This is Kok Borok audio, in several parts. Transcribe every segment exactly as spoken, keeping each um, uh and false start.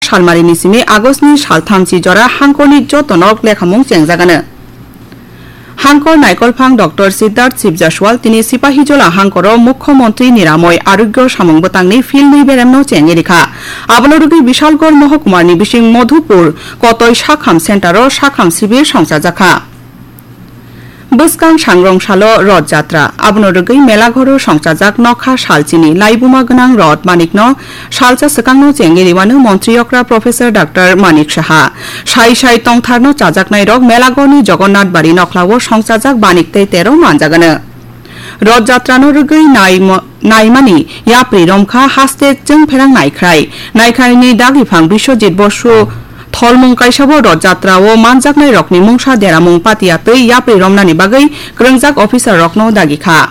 salmarini simi August ni saltham si jora hangkorni joto nok lekhamung chengjagano. Hangkor naikolphang Doctor Siddharth Sibjaswal tini Sipahijola hangkoro Mukhyamantri Niramoi Arogyo samung bwtangni philnwi beremno chengwi rikha. Abono rwgwi Bishalgarh Mohokumarni bising Madhupur Kotoi Sakham Centero Sakham Sibir songchajakha. Bwskang sangrong salo Roth Jatra, abono rwgwi Melaghoro songchajak nokha salchini laibuma gwnang Roth Manikno salsa swkangno chengwi rwmano Montri Okra Professor Doctor Manik Saha. Sai sai tongtharno chajaknairok Melaghorni Jagannath Bari nokhlao songchajak Banik tei Tero manjagano. Roth Jatrano rwgwi naimo-, naimani yapri romkha haste chwng pherang naikhrai. Naikhaini dagiphan Biswajit Bosu tholmung kaisabo Roth Jatrao manjaknairokni mungsa deramung patiya tei yapri romnani bagwi kwrwngjak officerrokno dagikha.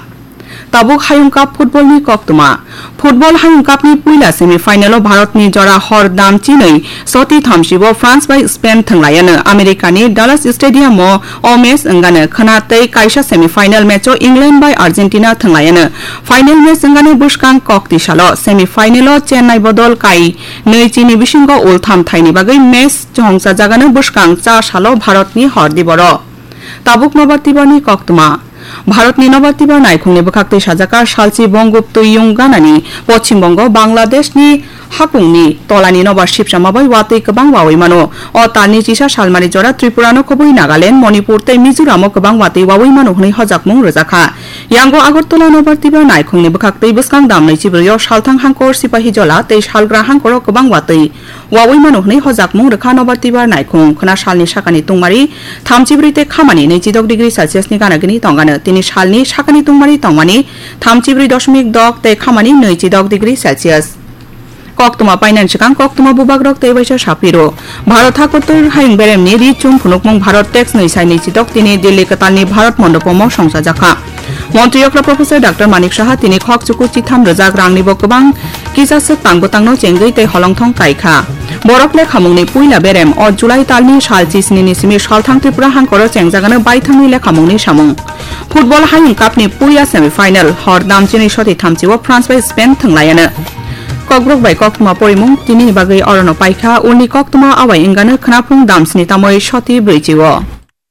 Tabuk Hayung Cup footballni koktwma. Football Hayung Cupni puila semi-finalo Bharatni jora hor dam chinwi soti thamsibo France bai Spain thwnglaiano. Americani Dallas Stadiumo o match wngano khwna tei kaisa semi-final matcho England bai Argentina thwnglaiano. Final match wngano bwskang kokti salo. Semi-finalo Chennai bodol kai nwi chini bisingo ultham thaini bagwi match chongchajagano bwskang cha salo Bharatni hor diboro. Tabuk nobar tibarni koktwma. Bharatni nobar tibar naikhungni bwkhaktwi sajaka salchi Bongop twi yung ganani Poschim Bongo, Bangladeshni hakungni tolani nobar sipsama bai watwi kwbang wawi mano. O talni chisa salmari jora Tripurano khobwi Nagaland, Manipur tei Mizoramo kwbang watwi wawi mano hwnwi hojakmung rwjakha. Yango Agartala nobar tibar naikhungni bwkhaktwi bwskang damnwi chibrwio salthang hangkor Sipahijola tei salgra hangkoro kwbang watwi wawi mano hwnwi hojakmung rwkha nobar tibar naikhung khwna salni sakani tungmari thamchibrwi tei khamani nwichidok degree Celsius ni gana gini tongano. Tini salni sakani tungmari tongmani thamchibrwi doshmik dok tei khamani nwichidok degree Celsius. Koktwma painani swkang koktwma bubagrok tei waisa saphiro. Bharat hakotor hayung beremni ri chum phunukmung Bharat tax nwi sai nwichidok tini Delhi kwtalni Bharat Mondopomo songchajakha. Montri Okra Professor Doctor Manik Saha tini khok chuku chitham rwjak rangnibo kwbang kisa swk tang bwtangno chengwi tei holongthong kaikha. Borok lekhamungni puila berem o July talni sal chisnini simi salthang Tripura hangkoro chengjagano baithangni lekhamungni samung. Football Hayung Cupni puila semi-final hor damchini soti thamchio France bai Spain thwnglaiano. Kokborok bai koktwma porimung tinini bagwi orono paikha, ulni koktwma awai wngano khwnaphung damsni tamoi soti brwichio.